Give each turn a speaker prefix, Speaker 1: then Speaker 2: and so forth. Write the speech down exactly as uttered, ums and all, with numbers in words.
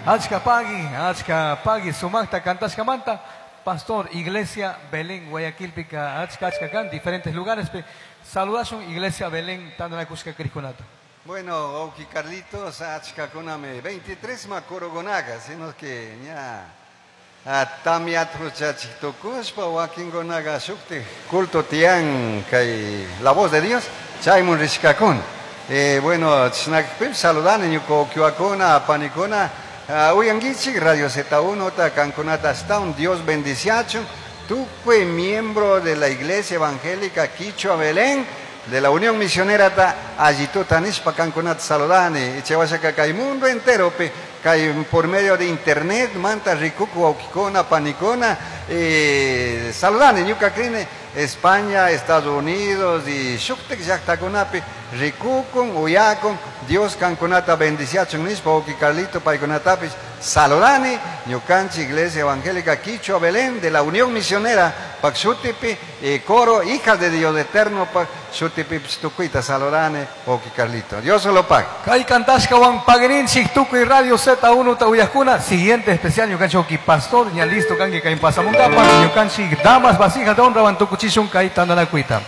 Speaker 1: Achka pagui, achka pagui, sumaqta kantashkamanta, pastor, Iglesia Belén, Guayaquilpika, achka achka kan, diferentes lugares, pe, saludashun Iglesia Belén, tantanakushka crijkunata.
Speaker 2: Bueno, wawki Carlitos, achkakunami, veintitrés makurukunaga, sino que ña tamyat huchachik tukushpa wakinkunaga shuktik culto tiyan kay La Voz de Dios, chaymun rishkakuna. Eh, bueno, chishnakpim saludani ñuka wawkiwakuna, panikuna, uh, uyankichik Radio Z uno ta kankunata ashtawan Dios bendiciachun, tukuy miembro de la Iglesia Evangélica Quichua Belén, de la Unión Misionera ta allituta nishpa kankunata saludani, chaywanka kay mundo entero pi, kay por medio de internet manta rikuku wawkikuna, panikuna, eh, saludani ñuka krini España, Estados Unidos y shuktik llaktakunapi rikukun, uyakun, Dios kankunata bendiciachun nishpa wawki Carlito paykunatapish saludani, ñukanchik Iglesia Evangélica Quichua Belén de la Unión Misionera pak shutipi, eh, coro Hijas de Dios Eterno pak shutipi tukuyta saludani wawki Carlito. Dios se lo pague.
Speaker 1: Kay kantashkawan pagrinchik tukuy Radio Z uno ta uyajkuna, siguiente especial ñukanchik wawki pastor ña listo kanki kay pasamunkapa ñukanchik damas vasijas de honra wan tukuchishun kay tantanakuyta.